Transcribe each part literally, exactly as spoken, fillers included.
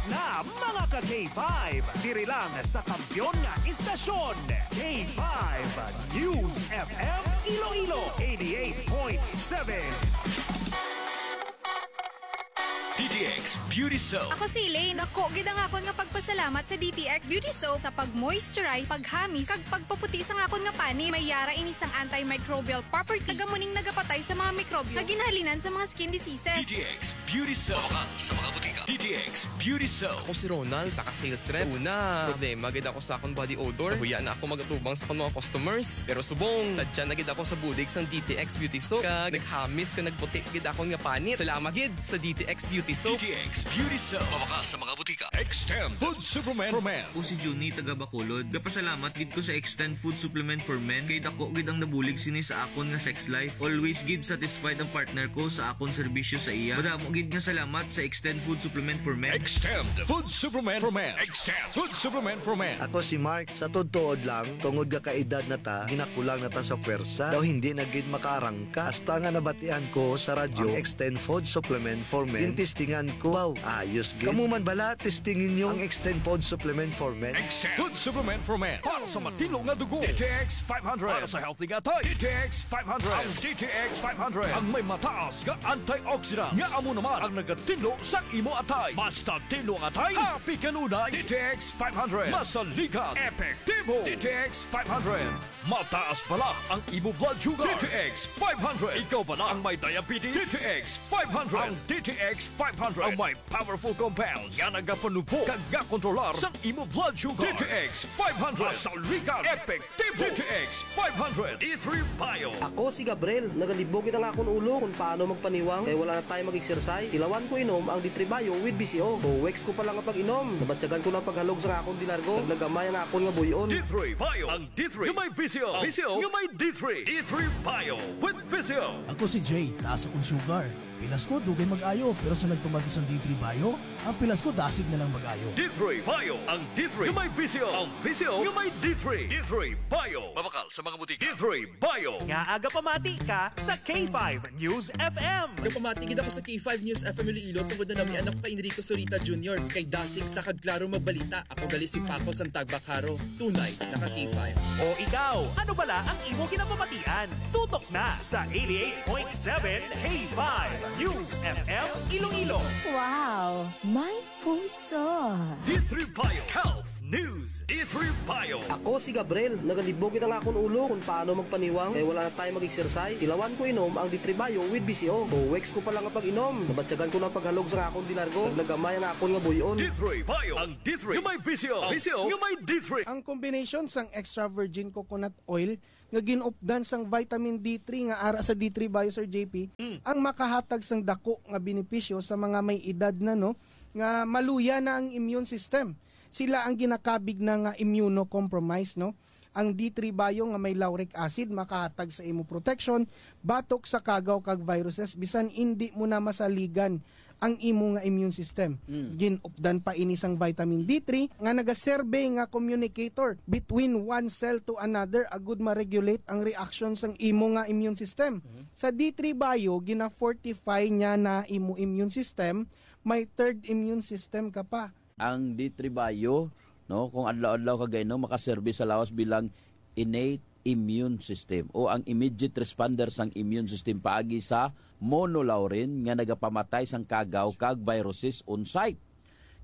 Na mga ka K five, diri lang sa kampiyon nga istasyon, K five News F M Iloilo eighty-eight point seven. D T X Beauty Soap. Ako si Elaine. Dako gid ang akon nga pagpasalamat sa D T X Beauty Soap sa pag-moisturize, paghamis, kag pagpaputi sang akon nga panit. May yara ini sang antimicrobial property. Taga muning nagapatay sa mga mikrobyo nga ginahalinan sa mga skin diseases. D T X Beauty Soap. Mabakal sa mga butika. D T X Beauty Soap. Ako si Ronald, isa ka sales rep. Sa una, problema gid ako sa akong body odor. Nahuya na ako mag-atubang sa akong mga customers. Pero subong, sadya na gid ako sa bulig sang D T X Beauty Soap. Kag naghamis kag nagputi gid akon nga panit. Salamat gid sa D T X Beauty Soap. D T X Beauty Soap. Mabakal sa mga butika. Extend Food Supplement for Men. Ako si Junie, taga Bacolod. Gapasalamat gid ko sa Extend Food Supplement for Men. Kay dako gid ang nabulig sini sa akon nga sex life. Always gid satisfied ang partner ko sa akon serbisyo sa iya. Madamo gid nga salamat sa Extend Food Supplement for Men. Extend Food Supplement for Men. Extend Food Supplement for Men. Ako si Mark. Sa tuod-tuod lang, tungod nga kaedad na ta, ginakulang na ta sa pwersa. Daw hindi na gid makaarangka. Hasta nga nabatian ko sa radyo ang Extend Food Supplement for Men. Gintistingan ko. Wow, ayos gid. Kamo man bala, testingi ninyo ang Extend Food Supplement for Men. Extend Food Supplement for Men. Para sa matinlo nga dugo, D T X five hundred. Para sa healthy nga atay, D T X five hundred. Ang D T X five hundred ang may mataas nga antioxidant nga amo naman ang nagatinlo sa imo atay. Mas natinlo ang atay, happy kanunay. D T X five hundred. Masaligan, epektibo. D T X five hundred. Mataas bala ang imo blood sugar. D T X five hundred. Ikaw bala ang may diabetes? D T X five hundred. Ang D T X five hundred ang may powerful compounds nga nagapanubog kag gakontrolar sang imo blood sugar. D T X five hundred. Masaligan, epektibo. D T X five hundred. D three Bio. Ako si Gabriel. Nagalibog gid ang akon ulo kung paano magpaniwang kay wala na tayo mag-exercise. Tilawan ko inom ang D three Bio with V C O. Two weeks ko pa lang nga pag-inom, nabatyagan ko na ang paghalog sa akon dilargo. Naglagamay ang akon nga buy-on. D three Bio. Ang D three nga may V C O. V C O nga may D three. D three Bio with V C O. Ako si Jay, taas akong sugar. Pilas ko, dugay mag-ayo, pero sa nagtuman ko sang D three Bio, ang pilas ko dasig na lang mag-ayo. D three Bio, ang D three nga may V C O. Ang V C O nga may D three. D three Bio. Mabakal sa mga butika. D three Bio. Ngaa gapamati ka sa K five News F M? Gapamati gid ako sa K five News F M Iloilo tungod na nami anak pa Enrico Zurita Junior, kay dasig sa kag klaro magbalita. Ako gali si Paco Santagbacaro. Tunay, naka K five. O ikaw, ano bala ang imo ginapamatian? Tutok na sa eighty-eight point seven K five News F M Iloilo. Wow, may puso. D three Bio Health News. D three Bio. Ako si Gabriel. Nagalibog gid ang akon ulo kung paano magpaniwang kay wala na tayo mag-exercise. Tilawan ko inom ang D three Bio with V C O. Two weeks ko pa lang nga pag-inom, nabatyagan ko na ang paghalog sa akon dilargo. Naglagamay ang akon nga buy-on. D three Bio. Ang D three nga may V C O. V C O nga may D three. Ang combination sang extra virgin coconut oil nga ginupdan sang vitamin D three nga ara sa D three Bio, Sir J P, Mm. ang makahatag sang dako nga benepisyo sa mga may edad na, no, nga maluya na ang immune system. Sila ang ginakabig na nga immunocompromised, no? Ang D three Bio nga may lauric acid makahatag sa imo protection batok sa kagaw kag viruses bisan indi mo na masaligan ang imo nga immune system. Mm. Ginupdan pa ini sang vitamin D three nga nagaserbe nga communicator between one cell to another agud ma-regulate ang reaction sang imo nga immune system. Mm. Sa D three Bio, gina-fortify niya na imo immune system, may third immune system ka pa. Ang D three Bio, no, kung adlaw-adlaw ka gainom, makaserbi sa lawas bilang innate immune system o ang immediate responder sang immune system paagi sa monolaurin nga nagapamatay sang kagaw kag viruses on site.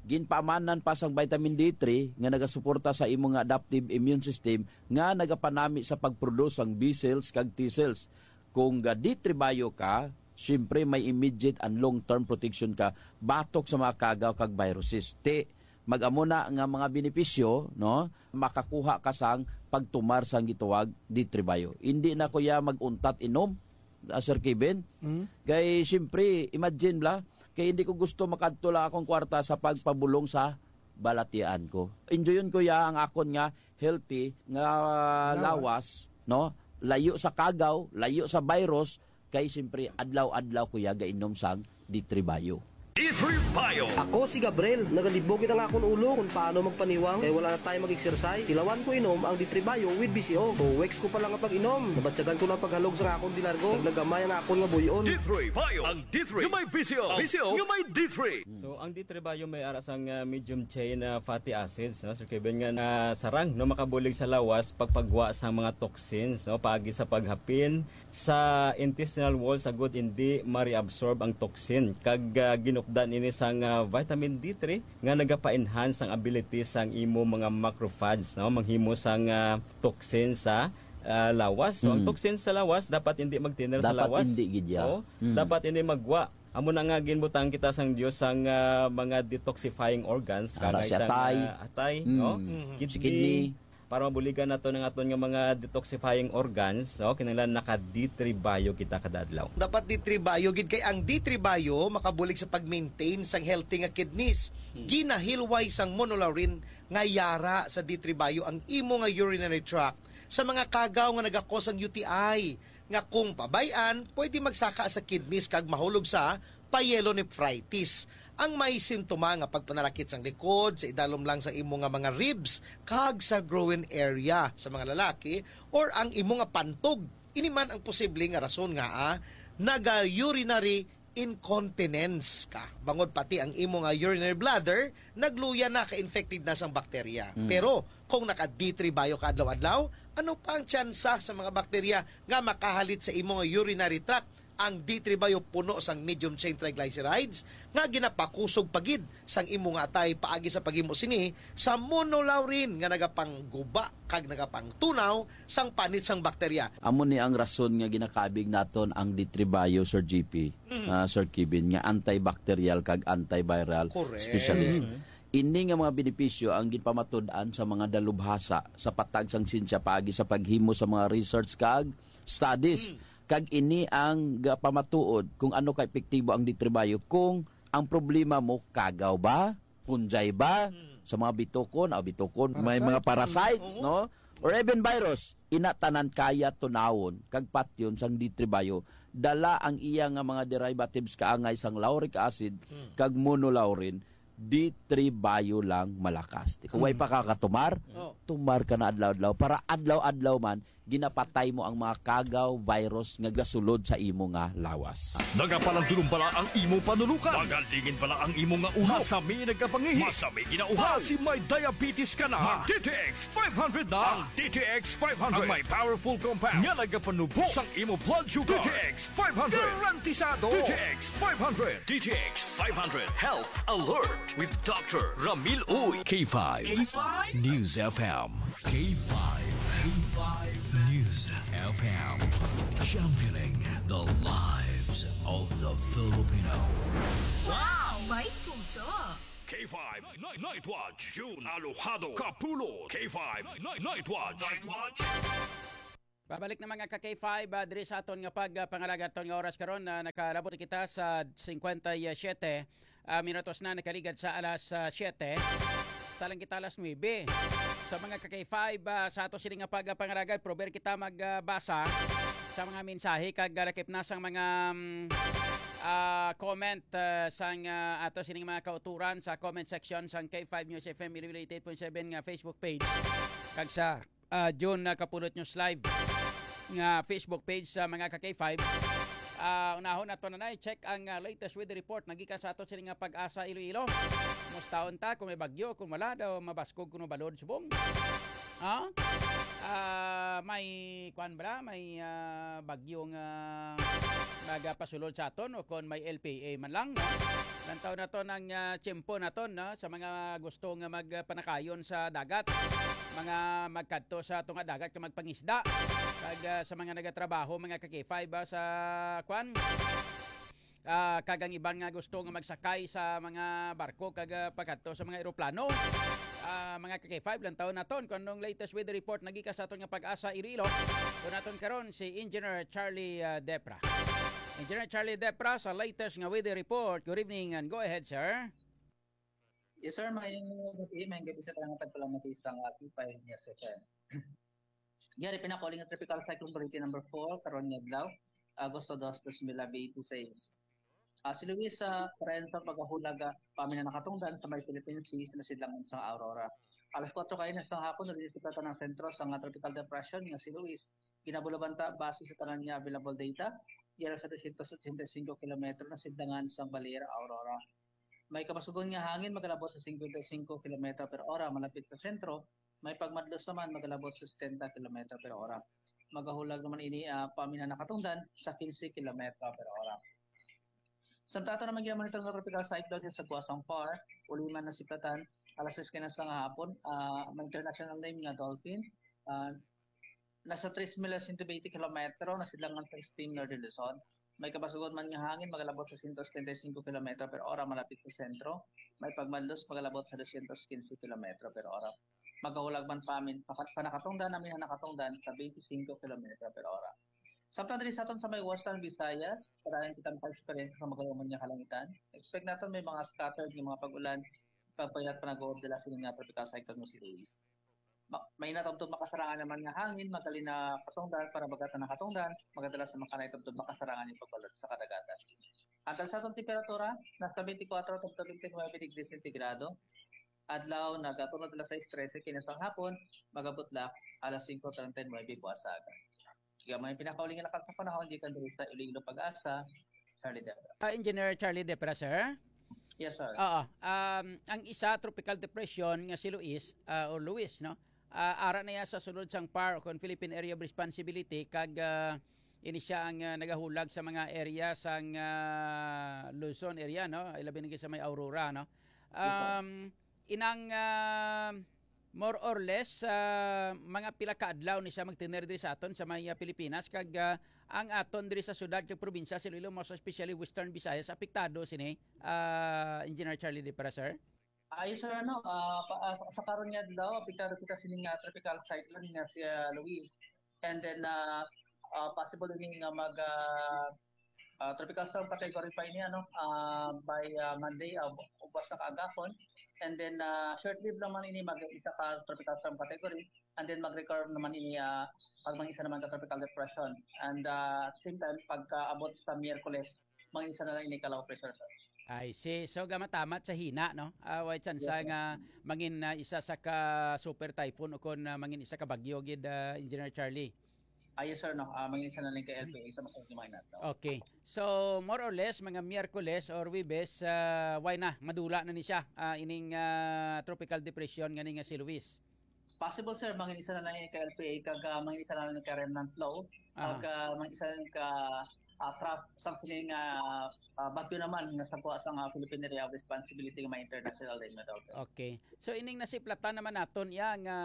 Ginpaamanan pa sang vitamin D three nga nagasuporta sa imo nga adaptive immune system nga nagapanami sa pag-produce sang B cells kag T cells. Kung ga D three Bio ka, siyempre may immediate and long-term protection ka batok sa mga kagaw kag viruses. Ti, mag-amo na nga mga benepisyo, no? Makakuha ka sang pagtumar sang gituwag D three Bio. Hindi na ko ya mag-untat inom, ah, Sir Kevin. Mm. Kay, siyempre, imagine bala, kay hindi ko gusto makadto lang akong kwarta sa pagpabulong sa balatian ko. Enjoyon ko ya ang akon nga healthy nga Lawas. lawas, no? Layo sa kagaw, layo sa virus, kay siyempre adlaw-adlaw ko ya gainom sang D three Bio. D three Bio. Ako si Gabriel. Nagalibog gid ang akon ulo kung paano magpaniwang kay wala na tayo mag-exercise. Tilawan ko inom ang D three Bio with B C O. Two weeks ko pa lang ang pag-inom. Nabatyagan ko na ang paghalog sa akon dilargo. Nagnagamay ang akon nga buy-on. D three Bio. Ang D three nga may V C O. V C O nga may D three. So, ang D three Bio may ara sang, ah, medium chain, ah, fatty acids, no? Sir Kevin, nga, ah, sarang, no, makabulig sa lawas pagpagwa sa mga toxins, no? Paagi sa paghapin sa intestinal wall, sa gud indi ma-reabsorb ang toxin. Kag, ah, ginupdan ini sang, ah, vitamin D three nga nagapa-enhance ang ability sang imo mga macrophage, no? Manghimo sang, ah, toxin sa, ah, lawas. So, ang Mm. toxin sa lawas dapat hindi magtiner sa Dapat lawas. hindi gid ya. Oo. Mm. Dapat hindi magwa. Amo na nga ginbutang kita sang Dios sang, ah, mga detoxifying organs, Ara kagay si sang, atay. ah, atay, Mm. no? Mhm. Si Kidney. Kidney. Para mabuligan nato ang aton nga mga detoxifying organs, no? Kinahanglan naka D three Bio kita kada adlaw. Dapat D three Bio gid kay ang D three Bio makabulig sa pag-maintain sang healthy nga kidneys. Hmm. Ginahilway sang monolaurin nga yara sa D three Bio ang imo nga urinary tract sa mga kagaw nga nagakos ang U T I, nga kung pabay-an, pwede magsaka sa kidneys kag mahulog sa pyelonephritis. Ang may sintoma nga pagpanalakit sang likod, sa idalom lang sa imo nga mga ribs, kag sa groin area sa mga lalaki, or ang imo nga pantog. Ini man ang posible nga rason nga, ah, naga-urinary incontinence ka. Bangod pati ang imo nga urinary bladder, nagluya na, ka-infected na sang bakterya. Mm. Pero kung naka D three Bio ka adlaw-adlaw, ano pa ang tsansa sa mga bakterya nga makahalit sa imo nga urinary tract? Ang D three Bio puno sang medium chain triglycerides nga ginapakusog pa gid sang imo nga atay paagi sa paghimo sini sa monolaurin nga nagapangguba kag nagapangtunaw sang panit sang bakterya. Amo ni ang rason nga ginakabig naton ang D three Bio, Sir G P, Mhm. ah, Sir Kevin, nga antibacterial kag antiviral Correct. specialist. Mhm. Ini nga mga benepisyo ang ginpamatud-an sa mga dalubhasa sa patag sang siyensya paagi sa paghimo sa mga research kag studies. Mm. Kag ini ang gapamatuod kung ano ka epektibo ang D three Bio. Kung ang problema mo, kagaw ba? Punjay ba? Mm. Sa mga bitukon, ah, bitukon, may Parasite. mga parasites, Mm. Oo. no? Or even virus, ina tanan kaya tunawon kag patyon sang D three Bio. Dala ang iya nga mga derivatives kaangay sang lauric acid Mm. kag monolaurin, D three Bio lang malakas. Kung way Mm. pa ka katumar, Oh. tumar ka na adlaw-adlaw. Para adlaw-adlaw man, ginapatay mo ang mga kagaw, virus nga gasulod sa imo nga lawas. Nagapalandulong bala ang imo panulukan? Magalingin bala ang imo nga ulo? Masami nagkapangihi? Masami ginauhaw? Basi may diabetes ka na? Mag D T X five hundred na. Ang D T X five hundred ang may powerful compound nga nagapanubo sang imo blood sugar. D T X five hundred. Garantisado. D T X five hundred. D T X five hundred Health Alert with Doctor Ramil Uy. K five K five News F M. K five, K five News F M, championing the lives of the Filipino. Wow! May puso! K five Night, Night Watch, June Alojado Kapulot. K five Night, Night, Night Watch. Night Watch. Babalik na, mga ka K five, ah, diri sa aton nga pag, ah, pangalaga aton nga oras karon, ah, nakalabot kita sa singkwenta y siyete, ah, minutos na nakaligad sa alas, ah, siyete. Talang kita alas nuebe. Sa mga ka K five, ah, sa ato sini nga pag, ah, pangaragay, prober kita mag, ah, basa sa mga mensahe kag, ah, lakip na sang mga, mm, ah, comment, ah, sang, ah, ato sini nga mga kauturan sa comment section sang K five News F M eighty-eight point seven nga Facebook page kag sa, ah, June, ah, Kapulot News Live nga Facebook page sa mga ka K five. Ah, unahon nato na, na check ang, ah, latest weather report nagikan sa ato sini nga Pag-asa Iloilo. Musta unta kung may bagyo, kung wala daw mabaskog kuno balod subong? Ha? Ah, may kwan bala, may, ah, bagyo nga nagapasulod sa aton o kon may L P A man lang, no? Lantaw naton ang, ah, tiyempo naton, no? Sa mga gusto nga magpanakayon sa dagat, mga magkadto sa tunga dagat ka magpangisda, kag, ah, sa mga nagatrabaho, mga ka K five, ah, sa kwan, ah, kag ang iban nga gusto nga magsakay sa mga barko kag, ah, pagkadto sa mga eroplano. Ah, mga ka K five, lantaw naton kung anong latest weather report nagikan sa aton nga Pag-asa Iloilo. Kung naton karon si Engineer Charlie, ah, Depra. Engineer Charlie Depra sa latest nga weather report. Good evening and go ahead, sir. Yes, sir. May gabi, may gabi sa tanan nga tagpalamati sa K five News F M. Yari, pinakuling nga Tropical Cyclone Variety number four, karon nga adlaw, Agosto dos, dos mil twenty-six. Ah, si Luis, ah, pareho sa pagkahulag, ah, paminaw nakatungdan sa may Philippine Sea sa sidlangan sang Aurora. Alas kuwatro kaina sang hapon, nalisipan ang sentro sang, ah, tropical depression nga si Luis. Ginabulabanta base sa tanan nga available data, yara sa dosyentos otsenta y cinco kilometro na sidlangan sang Balear, Aurora. May kabasugon nga hangin magalabot sa singkwenta y singko kilometro per ora malapit sa sentro, may pagmadlos naman magalabot sa setenta kilometro per ora. Magahulag naman ini, ah, paminaw nakatungdan sa quince kilometro per ora. Samtang ato naman ginamonitor nga tropical cyclone sa Guasang Par, uli man nasiplatan, alas sais kaina sang hapon, ah, ang international name nga Dolphin, ah, nasa tres mil siyento benti kilometro na sidlangan sa extreme northern Luzon. May kabasugon man nga hangin magalabot sa siyento setenta y singko kilometro per ora malapit sa sentro. May pagmadlos magalabot sa dosyentos quince kilometro per ora. Magahulag man paminaw, pakat-, panakatungdan namin ang nakatungdan sa twenty-five kilometro per ora. Samtang diri sa aton sa may Western Visayas, padayon kita maka-experience sa magaluman nga kalangitan. Expect naton may mga scattered nga mga pag-ulan, pagpayat pa nag-uod dala sini nga tropical cyclone nga si Luis. Ma-, may natubtob makasarangan naman nga hangin, magali na katungdan, para bagat na katungdan, magadala sa mga kanay tubtob makasarangan yung pagbalot sa kadagatan. Ang sa aton temperatura, nasa twenty-four to twenty-nine degrees centigrado. Adlaw, nagatunod alas sais trese, kinasang hapon, magabot lang alas singko treinta y nuebe buas sa aga. Kaya may pinakauling na sa panahon, gikan diri sa Iloilo Pag-asa, Charlie Debra. Ah, Engineer Charlie Debra, sir? Yes, sir. Oo. Um, ang isa tropical depression nga si Luis, ah, or Luis, no? Ah, ara na iya sa sulod sang par o kon Philippine Area of Responsibility, kag, ah, ini siya ang, ah, nagahulag sa mga area sang, ah, Luzon area, no? Ilabi na gid sa may Aurora, no? Yes, sir. Um, inang, ah, more or less, ah, mga pila ka adlaw ni siya magtener diri sa aton sa may, ah, Pilipinas, kag, ah, ang aton diri sa syudad kag probinsya sa Iloilo, most especially Western Visayas, apektado sini, ah, Engineer Charlie Debra, sir? Ay, sir, ano, ah, pa, ah, sa, sa karon nga adlaw, apektado kita sini nga tropical cyclone nga si, ah, Luis. And then, ah, ah, possible ini nga mag, ah, ah, tropical storm category five niya, no? Ah, by, ah, Monday, ah, bu-, ubos na kaagahon. And then, ah, short-lived naman ini, mag-isa ka tropical storm category. And then, mag-recover naman ini, ah, pag mag-isa naman ka tropical depression. And, ah, at the same time, pagkaabot sa Miyerkules, mag-isa na lang ini ka low pressure, sir. I see. So, gamatamat sa hina, no? Ah, way tsansa Yes, sir. nga mangin, ah, isa sa ka super typhoon o kon, ah, mangin isa ka bagyo gid, ah, Engineer Charlie? Ah, yes, sir, no? Ah, mangin isa na lang ka L P A sa masunod nga mga inadlaw. Okay. So, more or less, mga Miyerkules or Webes, ah, way na, madula na ni siya, ah, ining, ah, tropical depression nga ni nga si Luis. Possible, sir, mangin isa na lang ka L P A, kag, ah, mangin isa na lang ka remnant low, Aha. kag, ah, mangin isa na lang ka, ah, trough, something nga, ah, bagyo naman nga sa kuha sa nga Philippine Area of Responsibility nga may international din na daw, sir. Okay. So, ining nasiplatan naman naton iya nga,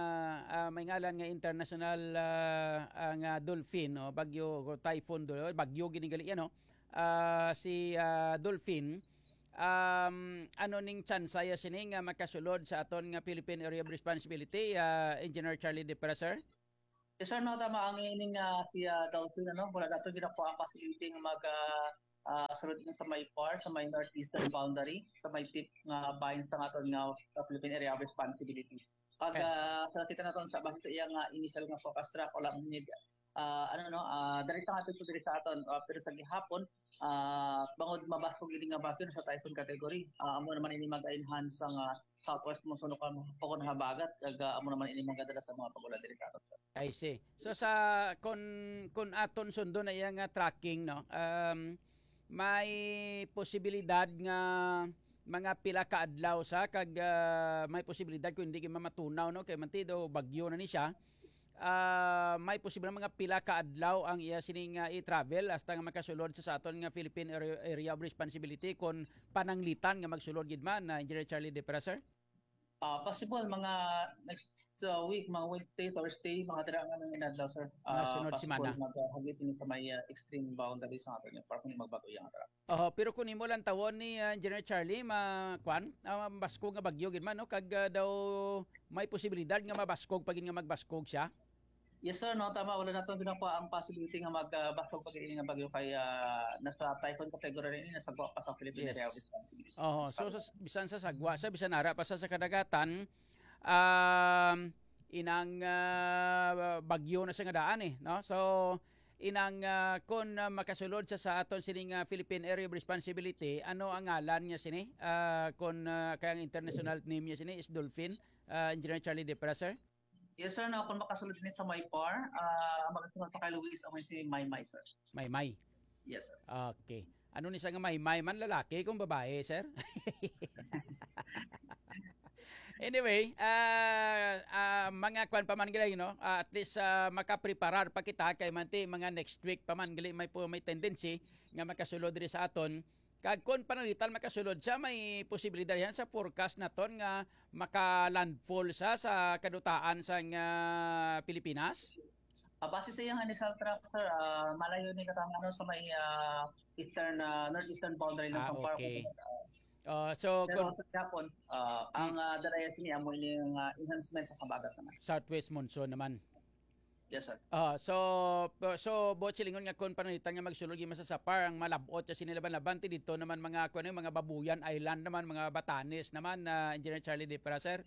ah, may ngalan nga international, ah, ah, nga Dolphin, no? Bagyo, typhoon, do-, bagyo ginigali, ano? Ah, si, ah, Dolphin, um, ano ning tsansa ya sini nga makasulod sa aton nga Philippine Area of Responsibility, ah, Engineer Charlie Depera, sir? Yes, sir, no, tama. Ang ining, ah, si, ah, Dolphin, ano, wala nato ginakuha ang possibility nga mag, ah, ah, sulod din sa may par, sa may northeastern boundary, sa may tip nga bahin sa aton nga, ah, Philippine Area of Responsibility. Pag, Okay. ah, sa kita naton sa base sa iya nga initial nga forecast track, wala man ni, ah, ano, no, ah, direkta nga epekto diri sa aton, ah, pero sa gihapon, ah, bangod mabaskog ini nga bagyo sa typhoon category, ah, amo naman ini mag-enhance sa nga southwest monsoon o kon, o kon habagat, kag, ah, amo naman ini magadala sa mga pag-ulan diri sa aton, sir. I see. So sa, kun, kun aton sundon na iya nga tracking, no, um, may posibilidad nga mga pila ka adlaw sa kag, ah, may posibilidad kung hindi gyud mamatunaw, no, kay mantido bagyo na ni siya. Ah, may posible mga pila ka adlaw ang iya sining, ah, i-travel hasta nga makasulod sa, sa aton nga Philippine Area, Area of Responsibility, kung pananglitan nga magsulod gid man, ah, Engineer Charlie Depera, sir? Ah, possible, mga next, uh, week, mga Wednesday, Thursday, mga dira nga mga inadlaw, sir. Mga Ah, sunod possible semana. Maghagit ini sa may, ah, extreme boundary sa aton, para kung magbag-o iya nga track. Oho, pero kung imo lang tawon ni, ah, Engineer Charlie, ma-, kwan, ah, mabaskog nga bagyo gid man, no? Kag, ah, daw may posibilidad nga mabaskog pa gid nga magbaskog siya? Yes, sir, no, tama. Wala naton ginakuha ang possibility nga mag, ah, baskog pa gid nga bagyo kay, ah, nasa typhoon category rin, nasa guwa pa sa Philippine Yes. Area of Responsibility. Oho, so, Sa sa, bisan sa sagwa, sa bisan ara pa sa, sa kadagatan, um, inang, ah, bagyo na siya nga daan, eh, no? So, Inang, ah, kon, ah, makasulod sa, sa aton sining, ah, Philippine Area of Responsibility, ano ang ngalan niya sini? Ah, kon, ah, kay ang international name niya sini is Dolphin, ah, Engineer Charlie Depra, sir? Yes, sir. No, kung makasulod ni sa may par, ah, ang makasulod sa kay Luis, amo si Maymay, sir. Maymay. Yes, sir. Okay. Ano ni siya nga Maymay man, lalaki kung babae, sir? Anyway, ah, ah, mga kwan pa man gali, no? Ah, at least, ah, makapreparar pa kita kay manti mga next week pa man gali may pu-, may tendency nga makasulod diri sa aton. Kag kon pananglitan makasulod siya, may posibilidad yan sa forecast naton nga maka-landfall sa, sa kadutaan sang, ah, Pilipinas? Ah, base sa iyang initial track, sir, ah, malayo ni katang, ano, sa may, ah, eastern, ah, northeastern boundary ng Ah, Samar, okay. Kung, ah, Ah, so, pero kung sa Japon, ah, ang, Hmm. ah, dala niya sini amo ini ang, ah, enhancement sa kabagat naman. Southwest monsoon naman. Yes, sir. Ah, so, so, buot silingon nga kon pananglitan nga magsulod gyud man sa Sapar, ang malab-ot siya sini laban-laban, ti dito naman mga, kuwan, mga Babuyan Island naman, mga Batanes naman, ah, Engineer Charlie Depra, sir?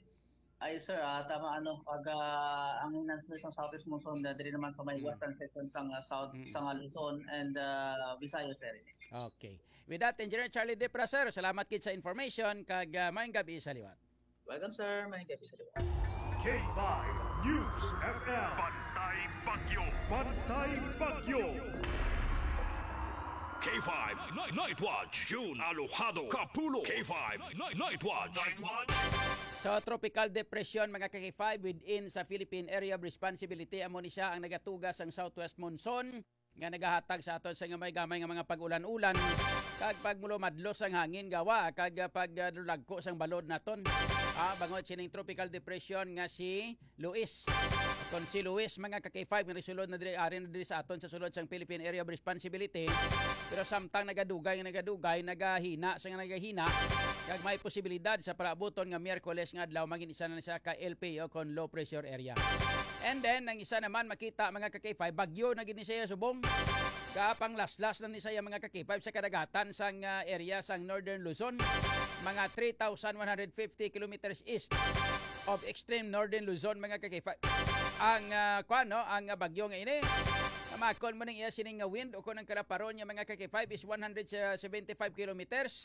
Ay, sir, ah, tama, ano, pag, ah, ang enhancement sa Southwest Monsoon, ah, diri naman sa may Hmm. western section sang, ah, South, Mm. sang, ah, Luzon and, ah, Visayas area. Okay. With that, Engineer Charlie Depra, sir, salamat gid sa information, kag, ah, maayong gabi sa liwat. Welcome, sir. Maayong gabi sa liwat. K five News F M. Bantay Bagyo. Bantay Bagyo. K five Night, Night Watch, June Alojado Kapulo. K five Night, Night Watch. Night Watch. So, tropical depression, mga ka-K five, within sa Philippine Area of Responsibility, amo ni siya ang nagatuga sang southwest monsoon nga nagahatag sa aton sa nga may gamay nga mga pag-ulan-ulan kag pagmulumadlos ang hangin gawa kag, ah, pagdulagko sang balod naton. Ah, bangod sining tropical depression nga si Luis. Kon si Luis, mga ka-K five, nga nagsulod na diri, ari na diri sa aton sa sulod sang Philippine Area of Responsibility. Pero samtang nagadugay nga nagadugay, nagahina sa nga nagahina, kag may posibilidad sa palaabuton nga Miyerkules nga adlaw, mangin isa na siya ka L P O kon low pressure area. And then, ang isa naman makita, mga ka-K five, bagyo na gid ni siya subong. Gapanglaslas na ni siya, mga ka-K five, sa kadagatan sang, ah, area sang Northern Luzon. Mga three thousand one hundred fifty kilometers east of extreme northern Luzon, mga ka-K five. Ang, ah, kuwan, no, ang, ah, bagyo nga ini, namakon mo ning iya sining nga wind o kung ang kalaparon niya, mga ka-K five, is one hundred seventy-five kilometers.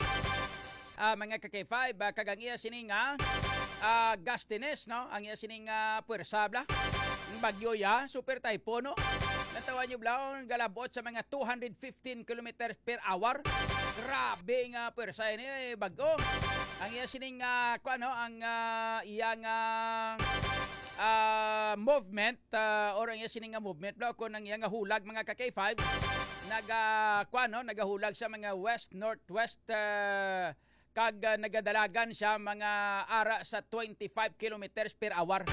Ah, mga ka-K five, ah, kag ang iya sining nga, ah, gustiness, no? Ang iya sining nga puwersa, bla. Ang bagyo ya, super typhoon, no? Natawan niyo, bla, galabot sa mga two hundred fifteen kilometers per hour. Grabe nga pwersa ini, eh, bago. Ang iya sining, ah, kuwan, no, ang, ah, iya nga, ah, movement, ah, or ang iya sining nga movement, bla, kung ang iya nga hulag, mga ka-K five, naga, kuwan, no, nagahulag sa mga west, northwest, ah, kag, ah, nagadalagan siya mga ara sa twenty-five kilometers per hour.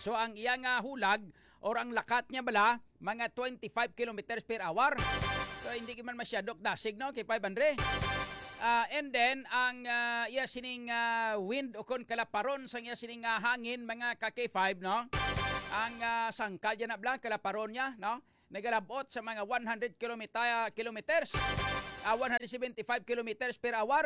So, ang iya nga hulag or ang lakat niya bala, mga twenty-five kilometers per hour. So, hindi man masyado dasig, no, kay five hundred. Ah, and then, ang, ah, iya sining, ah, wind o kon kalaparon sang iya sining, ah, hangin, mga ka-K five, no? Ang, ah, sangkal niya na bala, kalaparon niya, no? Nagalabot sa mga one hundred kilometa-, kilometers, ah, one hundred seventy-five kilometers per hour.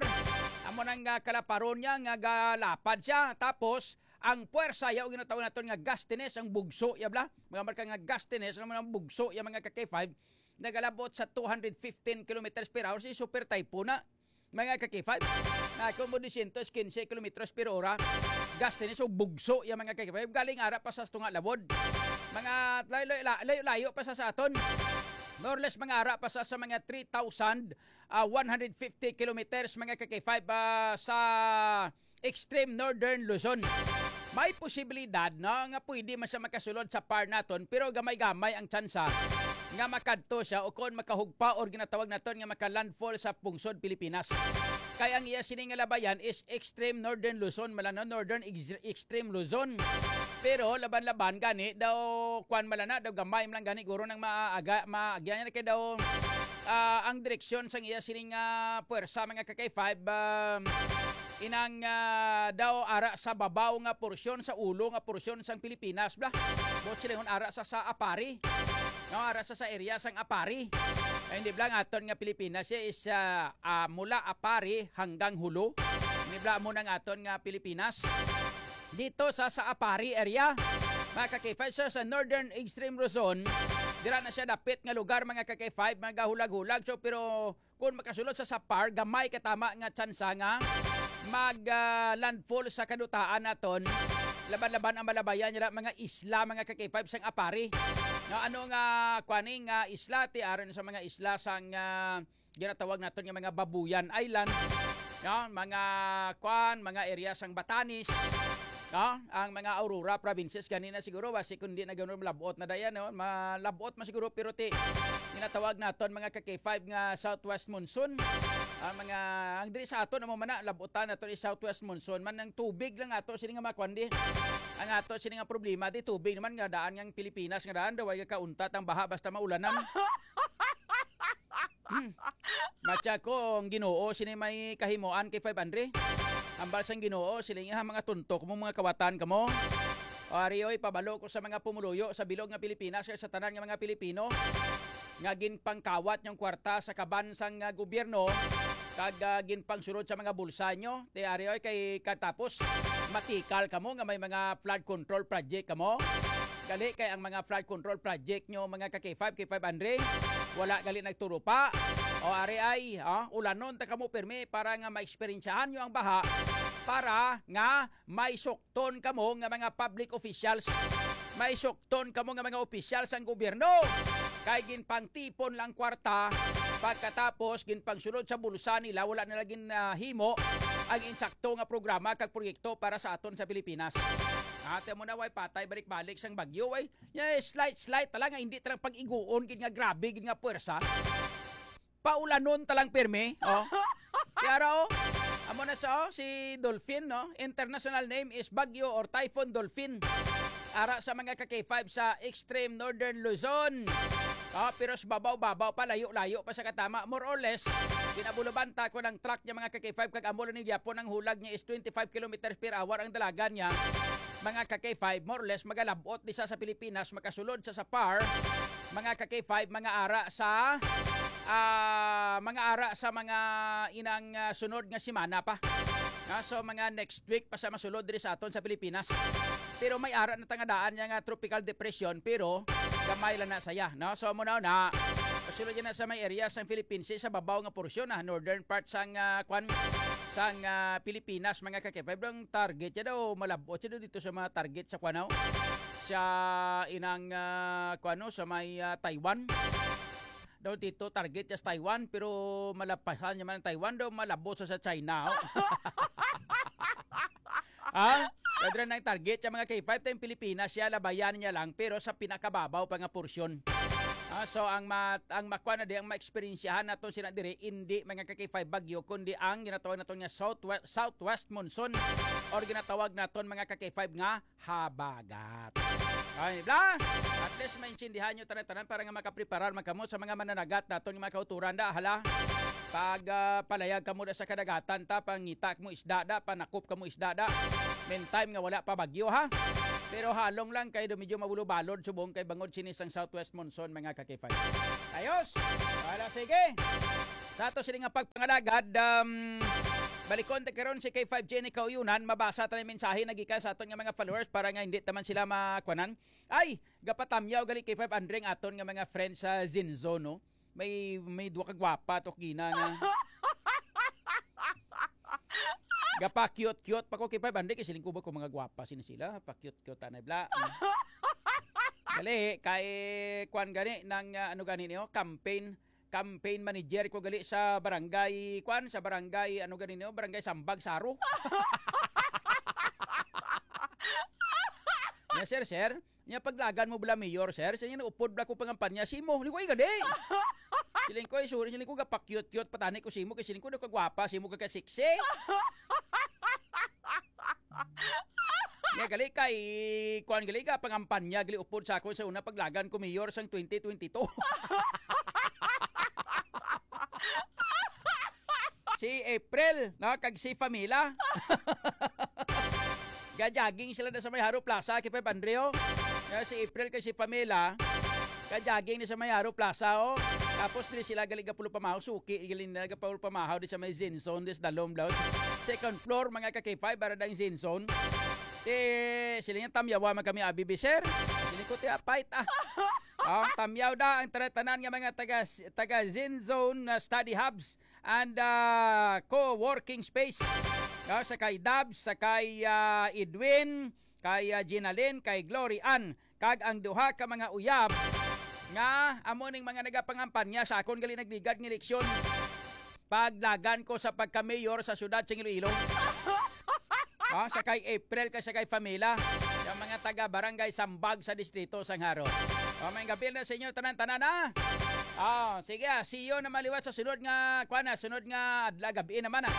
Amo nang, ah, kalaparon niya nga galapad siya. Tapos, ang puwersa ya, o ginatawag naton nga gustiness, ang bugso ya bala. Mga marka nga gustiness, ang mga bugso ya, mga ka-K five, nagalabot sa two hundred fifteen kilometers per hour, si super typhoon na. Mga ka-K five, na kung mo dosyentos kinse kilometros per ora, gustiness o bugso ya, mga ka-K five, galing ara pa sa tunga lawod. Mga layo-layo, layo-layo pa sa, sa aton. More or less, mga ara pa sa, sa mga three thousand, ah, one hundred fifty kilometers, mga ka-K five, ah, sa extreme northern Luzon. May posibilidad, no, nga pwede man siya makasulod sa par naton, pero gamay-gamay ang tsansa nga makadto siya o kon makahugpa or ginatawag naton nga maka-landfall sa pungsod Pilipinas. Kay ang iya sini nga labayan is extreme northern Luzon, mala, no, northern ex-, extreme Luzon. Pero laban-laban gani daw, kwan, mala na, daw gamay man lang gani guro nang maaga, maagyan niya kay daw, ah, ang direksyon sang iya sining, ah, puwersa, mga ka-K five, ah, inang, ah, daw ara sa babaw nga porsyon, sa ulo nga porsyon sang Pilipinas, bla. Buot silingon ara sa, sa Apari. No, ara sa, sa area sang Apari. Ay, hindi bla, ang aton nga Pilipinas siya is, ah, ah, mula Apari hanggang Jolo. Hindi bla, mo nang aton nga Pilipinas. Dito sa, sa Apari area, mga ka-K five, so sa Northern Extreme Luzon, Dira na siya dapit nga lugar, mga ka-K five, magahulag-hulag. So, pero kung makasulod sa SAPAR, gamay katama nga tsansa nga mag, ah, landfall sa kadutaan naton. Laban-laban ang malabayan nila mga isla, mga ka-K five, sang Apari. No, ano nga, kwaning, ah, isla, ti, aron sa mga isla sang, ah, ginatawag naton nga mga Babuyan Island, no? Mga, kwan, mga area sang Batanes, no? Ang mga Aurora provinces ganina siguro, basi kundi na ganoon, malabot na dayan, no? Malabot man siguro, pero ti, ginatawag naton mga ka-K five nga southwest monsoon. Ang mga, ang diri sa aton, amo man na, labutan naton is southwest monsoon. Man ang tubig lang ato, sini nga mga kwan di. Ang ato, sini nga problema, di tubig naman nga daan nga ang Pilipinas, nga daan daw ay kauntat ang baha basta maulanan. Hmm. Matya ko, ang Ginoo, sini may kahimuan kay five hundred. Ambal sang Ginoo, sila nga mga tuntok mo, mga kawatan kamo. O, ari, oy, pabalo ko sa mga pumuluyo sa bilog nga Pilipinas, kay sa tanan nga mga Pilipino nga ginpangkawat yung kwarta sa kaban sang, ah, gobyerno, kag, ah, ginpangsulod sa mga bulsa nyo. Ti, ari, oy, kay katapos, matikal kamo nga may mga flood control project kamo. Gali kay ang mga flood control project nyo, mga ka-K five, K five Andre, wala gali nagturupa. O, ari ay, ah, ulanon ta kamo pirmi para nga maeksperiensyahan nyo ang baha, para nga may sukton kamo nga mga public officials, may sukton kamo nga mga opisyal sang gobyerno. Kay ginpangtipon lang kwarta, pagkatapos ginpangsulod sa bulsa nila, wala nila gin, ah, himo ang insakto nga programa kag proyekto para sa aton sa Pilipinas. Ate mo na, way patay balik-balik sang bagyo, way. Ya, slight, slight ta lang, nga hindi ta lang pag-iguon gid nga grabe gid nga puwersa. Paulanon ta lang pirmi, oh. Kaya ra, oh, amo na sa, oh, si Dolphin, no? International name is Bagyo or Typhoon Dolphin. Ara sa mga ka-K five sa extreme northern Luzon. Ah, pero sa babaw-babaw pa, layo-layo pa sa katama, more or less. Ginabulubanta ko ng truck niya, mga ka-K five, kag amo lang ni gyapon ang hulag niya is twenty-five kilometers per hour ang dalagan niya. Mga ka-K five, more or less, magalabot di sa, sa Pilipinas, makasulod sa, sa par, mga ka-K five, mga ara sa, ah, mga ara sa mga inang, ah, sunod nga semana pa. Nga, so, mga next week pa sa masulod diri sa aton sa Pilipinas. Pero may ara na tangadaan niya nga tropical depression, pero gamay lang na saya, no? So, muna na, pasulod niya na sa may area sang Philippines, sa babaw nga porsyon, ah, northern part sang, ah, kwan, sang, ah, Pilipinas, mga ka-K five. Ang target niya daw, malabot siya daw dito sa mga target sa kwan, no? Sa inang, ah, kwan, no? Sa may, ah, Taiwan. Daw dito, target niya sa Taiwan, pero malapasan niya man ang Taiwan, daw malabot sa, sa China, oh. Ah, kadra nang target sa mga K five, tayong Pilipinas, siya labayan niya lang, pero sa pinakababaw pa nga porsyon. Ah, so ang ma-, ang makwa na di, ang maeksperiensyahan naton sila diri, hindi mga ka-K five bagyo, kundi ang ginatawag naton nga southwest, southwest monsoon, or ginatawag naton mga ka-K five nga habagat. Ay, bla! At least maintindihan nyo tanan-tanan para nga makapreparar man kamo sa mga mananagat naton nga mga kauturan da, hala. Pag, ah, palayag kamo da sa kadagatan ta, pangita mo isda da, panakop kamo isda da. Meantime nga wala pa bagyo, ha? Pero halong lang kay do medyo mabulo-balod subong kay bangod sini sang southwest monsoon, mga ka-K five. Ayos! Wala, sige! Sa ato sini nga pagpangalagad, um, balikon ta karon si K five Jenny Kauyunan, mabasa ta ang mensahe na gikan sa aton nga mga followers para nga hindi taman sila makwanan. Ay, gapatamyaw gali K five Andre ang aton nga mga friends sa Zinzo, no? May, may duha ka gwapa to gina nga. Gapa-cute-cute pa ko kay Five Andre, kay siling ko ba ko mga gwapa sini sila, pa-cute-cute anay bla. Gali, kay kwan gani ng, ah, ano gani niyo, campaign, campaign manager ko gali sa barangay, kwan, sa barangay, ano gani niyo, barangay Sambag, Saro. Nya, sir, sir, nya paglagan mo bala mayor, sir, siya niya naupod bala ko pangampanya, simo, ni ko, "Ay, gani." Siling ko, "Ay, sorry," siling ko, "gapakyot-kyot, patani ko simo, kay siling ko, daw kagwapa, simo ka sexy." Nya, gali kay, kuan gali ka, pangampanya, gali upod sa akon sa una paglagan ko mayor sang twenty twenty-two. Si April, no, kag si Pamela. Ga-jogging sila na sa may Haro Plaza, kay Pep Andreo. Nga si April kay si Pamela, ga-jogging na sa may Haro Plaza, oh. Tapos diri sila gali gapulo pamahaw, suki, gali na gapulo pamahaw di sa may Zen Zone, di sa dalom daw. Second floor, mga ka-K five, para dang Zen Zone. Eh, sila nga tamyawa man kami, abi, bi, sir. Sila ko, ti, apait, ah. Oh, tamyaw da ang tanan-tanan nga mga taga, taga Zen Zone, ah, Study Hubs and, ah, Co-working Space. Oh, sa kay Dabs, sa kay, ah, Edwin, kay, ah, Ginalyn, kay Glory Ann, kag ang duha ka mga uyab nga amo ning mga nagapangampanya sa akon gali nagligad nga eleksyon. Paglagan ko sa pagka-mayor sa siyudad sa Iloilo. Oh, sa kay April, kay sa kay Famila, yung mga taga Barangay Sambag sa Distrito sang Jaro. Oh, may gabi na sa inyo tanan-tanan, ha? Oh, sige, ah, see you naman liwat sa sunod nga, kuwan na, sunod nga adlaw, gabi naman, ah.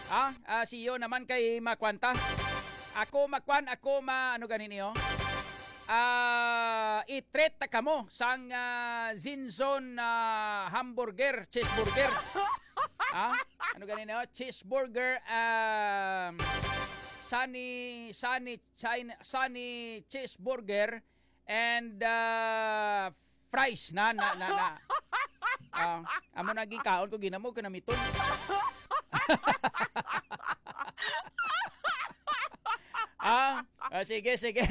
Ah, ah, see you naman kay Makwanta. Ako, Makwan, ako, ma, ano gani niyo? Ah, i-treat ta kamo sang, ah, Zinzon, ah, hamburger, cheeseburger. Ah, ano gani niyo? Cheeseburger, um, Sunny, Sunny China, Sunny cheeseburger and, ah, fries na, na, na, na. Ah, amo na ginkaon ko, ginamo ko namiton. Ah, ah, sige, sige.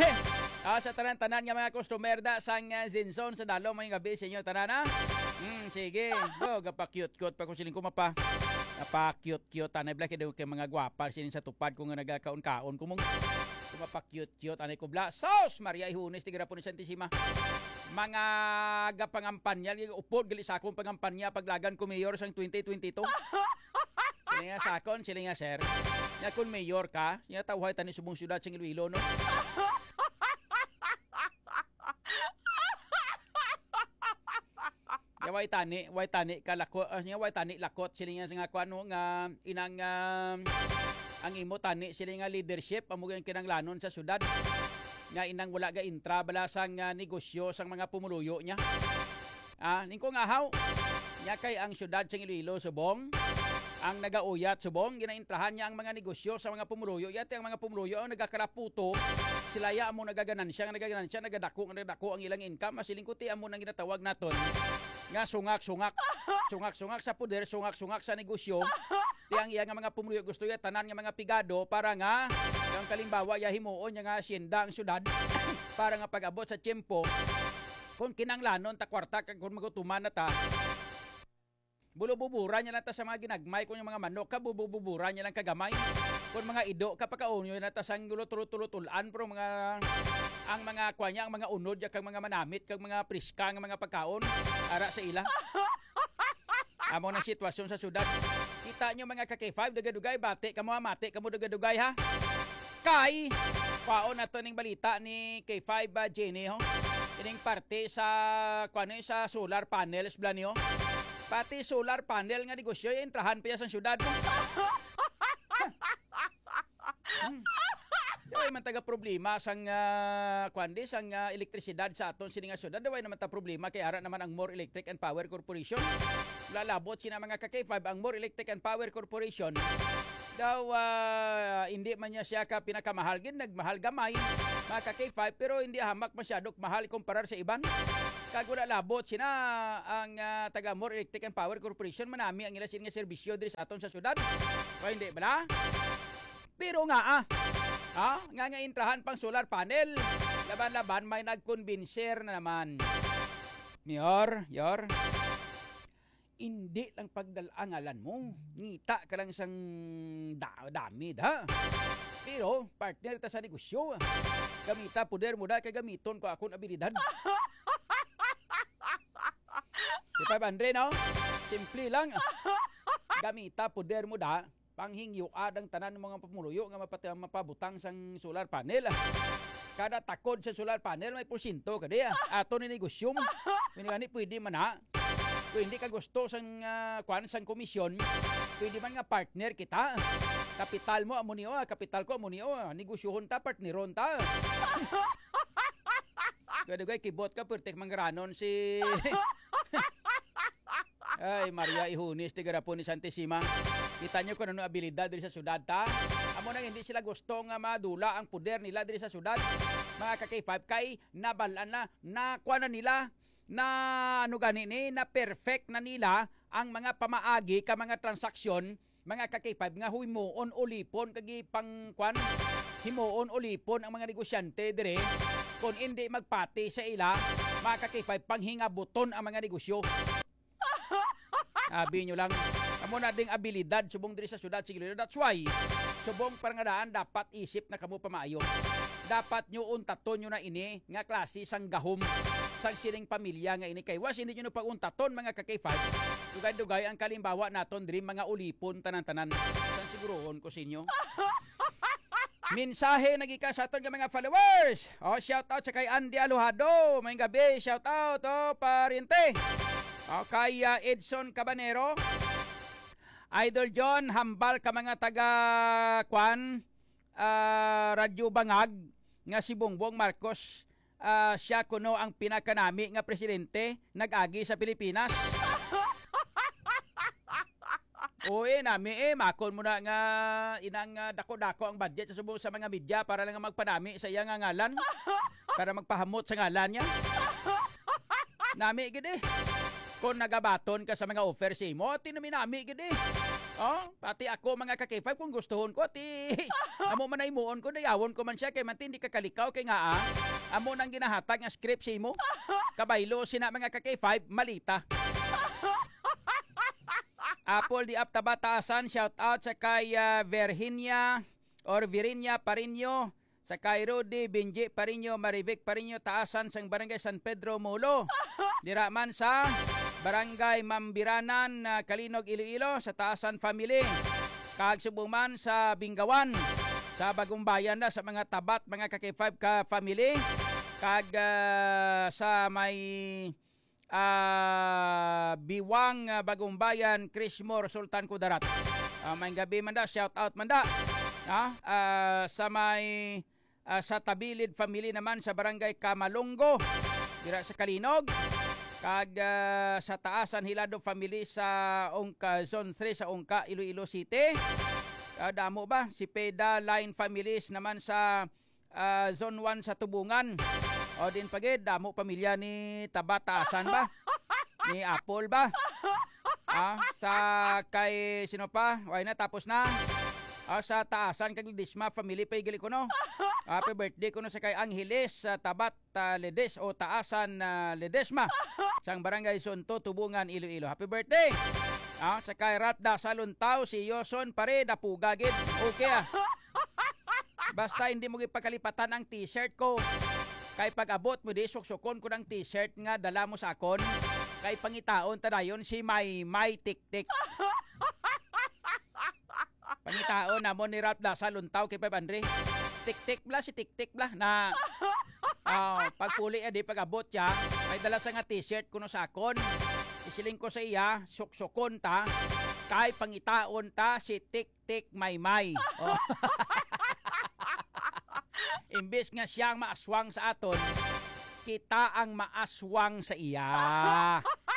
Ah, sa tanan-tanan nga mga customer da sang, ah, Zinzon sa Dalom, may gabi sa inyo tanan, ha? Hmm, sige. Oh, gapa-cute-cute pa ko siling ko mapa. Gapa-cute-cute, anay bla, kay daw kay mga gwapa sining sa tupad ko nga nagakaon-kaon ko mong. Gapa-cute-cute, anay ko bla. Sos! Maria Ihunes, tigarapon ni Santissima. Mga gapangampanya, upod gali sa akong pangampanya, paglagan ko mayor sang twenty twenty-two. Sila nga sakon, sila nga sir. Nga kung mayor ka, nga tawhay tani subong syudad sing Iloilo, no? Nga way tani, way tani ka lako, ah, nga way tani lakot, sila nga sa nga kuwan, no, nga inang, ah, ang imo tani, sila nga leadership, amo ang kinanglanon sa syudad. Nga inang wala ga intra bala sang, ah, negosyo sang mga pumuluyo niya. Ah, ning ko nga haw. Nya kay ang siyudad sang Iloilo subong, ang nagauyat subong, ginaintrahan niya ang mga negosyo sa mga pumuluyo. Yati ang mga pumuluyo ang nagakaraputo. Sila ya amo nagaganansya, nga nagaganansya, nagadako, nga nagadako ang ilang income. Masiling ko ti amo nang ginatawag naton nga sungak-sungak. Sungak-sungak sa poder, sungak-sungak sa negosyo. Ti ang iya nga mga pumuluyo gusto ya tanan nga mga pigado para nga ang kalimbawa ya himuon niya nga asyenda ang siyudad para nga pag-abot sa tiyempo kung kinanglanon ta kwarta kag kung magutuman na ta, bulububura niya lang ta sa mga ginagmay, kung yung mga manok ka, bulububura niya lang kagamay. Kung mga ido ka, pakaunyo na ta sang gulo tulo-tulo tulan, pero mga, ang mga kwa niya, ang mga unod, ya kag mga manamit, kag mga priska nga mga pagkaon, ara sa ila. Amo na sitwasyon sa syudad. Kita nyo mga ka K five, dugay-dugay, bati kamo, ha, mati kamo, dugay-dugay, ha. Kay, kwaon nato ning balita ni K five, ah, Jenny, ho. Ining parte sa, kuwan, eh, sa solar panels, bla niyo. Pati solar panel nga negosyo, intrahan pa ya sang syudad, no? Hmm. Daway man taga problema sang, ah, kuwan di, sang, ah, elektrisidad sa aton sini nga syudad. Daway naman ta problema kay ara naman ang More Electric and Power Corporation. Lalabot sina mga ka K five, ang More Electric and Power Corporation. Daw, ah, hindi man niya siya ka pinakamahal gid, nagmahal gamay, mga ka K five, pero hindi hamak masyado mahal kumparar sa iban. Kag wala labot sina ang, ah, taga More Electric and Power Corporation, manami ang ila sini nga serbisyo diri sa aton sa syudad. O hindi bala? Pero nga, ah, ah, nga, nga intrahan pang solar panel. Laban-laban, may nagkonbinser na naman. Mayor, yor, hindi lang pagdala ang ngalan mo. Ngita ka lang sang da-, dami, da. Pero, partner ta sa negosyo. Gamita poder mo da, kay gamiton ko akon abilidad. Di ba, Andre, no? Simple lang. Gamita poder mo da. Panghingyuad ang tanan ng mga pumuluyo nga mapati-, mapabutang sang solar panel. Kada takod sa solar panel, may porsyento ka di, ah. Ato ni negosyo mo. Kung gani, pwede man, ha? Kung hindi ka gusto sang, ah, kwan, sang komisyon, pwede man nga partner kita. Kapital mo, amo ni, oh, kapital ko, amo ni, oh. Negosyohon ta, partneron ta. Kaya dugay, kibot ka, pertek manggaranon si Ay, Maria Ihunis, tigarapon ni Santissima. Kita nyo kung ano abilidad diri sa syudad, ta? Amo nang hindi sila gusto nga madula ang poder nila diri sa syudad. Mga ka K five, kay nabalaan na, nakuha na nila, na ano gani ni, na perfect na nila ang mga pamaagi ka mga transaksyon, mga ka K five, nga himuon ulipon kag ipang, kwan, himuon ulipon ang mga negosyante dire, kung hindi magpati sa ila, Mga ka-K five, panghingabuton ang mga negosyo. Abi nyo lang, amo na ding abilidad subong diri sa syudad sa Iloilo. That's why, subong parangadaan, dapat isip na kamo pamaayo. Dapat nyo untaton nyo na ini nga klase sang gahom sang sining pamilya nga ini. Kay was hindi nyo pag-untaton, mga ka-K five, dugay-dugay ang kalimbawa naton diri, mga ulipon tanan-tanan. San sigurohon ko sa inyo. Mensahe na gikan sa aton nga mga followers. Oh, shout out sa kay Andy Alojado. May gabi, shout out, oh, pariente. Oh, kay, ah, Edson Cabanero. Idol John, hambal ka mga taga, kwan, ah, Radyo Bangag nga si Bongbong Marcos, ah, siya kuno ang pinakanami nga presidente nag-agi sa Pilipinas. Uy, nami eh, makon mo na nga inang, ah, dako-dako ang budget sa subong sa mga media para lang magpanami sa iya nga ngalan, para magpahamot sa ngalan niya. Nami gid eh. Kung nagabaton ka sa mga offer sa imo, ati nami-nami gid eh. Oh, pati ako, mga ka-K five, kung gustuhon ko, ati amo man na himuon ko, dayawon ko man siya, kay manti hindi ka kalikaw, kay nga, ah, amo nang ginahatag nga script sa imo. Kabaylo sina, mga ka-K five, malita. Apple di Aptaba Taasan, shout out sa kay, ah, Virginia or Virinia Parinyo, sa kay Rudy Benji Parinyo, Marivic Parinyo, Taasan sang Barangay San Pedro, Molo. Dira man sa Barangay Mambiranan, ah, Kalinog, Iloilo, sa Taasan family. Kag subong man sa Binggawan, sa Bagumbayan na sa mga Tabat, mga ka-K five ka family. Kag, ah, sa may ah, Biwang, ah, Bagumbayan, Crismore, Sultan Kudarat. Ah, may gabi man da, shout out man da. Ah, ah, sa may, ah, sa Tabilid family naman sa Barangay Kamalongo, dira sa Kalinog. Kag, ah, sa Taasan Hilado family sa Ungka, Zone three sa Ungka, Iloilo City. Ah, damo ba? Si Peda Line families naman sa ah, Zone one sa Tubungan. O din pa gid, damo pamilya ni Tabat Taasan ba? Ni Apple ba? Ah, sa kay sino pa? Way na, tapos na. Ah, sa Taasan kag Ledesma family pa gali kuno. Happy birthday kuno sa kay Angeles, sa Tabat, ah, Ledes o Taasan, ah, Ledesma. Sang Barangay Zone two, Tubungan, Iloilo. Happy birthday. Ah, sa kay Ralph Dasal Untaw, si Yoson pare, dapuga gid. Okay ah. Basta hindi mo gipakalipatan ang t-shirt ko. Kay pag-abot mo di, suksukon ko ng t-shirt nga dala mo sa akon. Kay pangitaon ta dayon si May May Tiktik. Pangitaon namon ni Ralph Dasal Untaw kay Pep Andre. Tiktik bla, si Tiktik bla na, ah, pagpuli, eh, di pag-abot siya. May dala sa nga t-shirt kuno sa akon. Isiling ko sa iya, suksukon ta. Kay pangitaon ta si Tik Tik Maymay. Oh. Imbis nga siya ang maaswang sa aton, kita ang maaswang sa iya.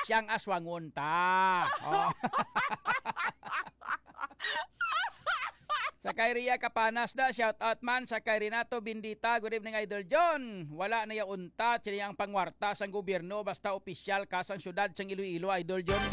Siyang aswangon ta. Oh. Sa kay Ria Capanas na, shout out man sa kay Renato Bendita. Good evening, Idol John. Wala na ya untat sila ang pangwarta sang gobyerno, basta opisyal ka sang syudad sang Iloilo, Idol John.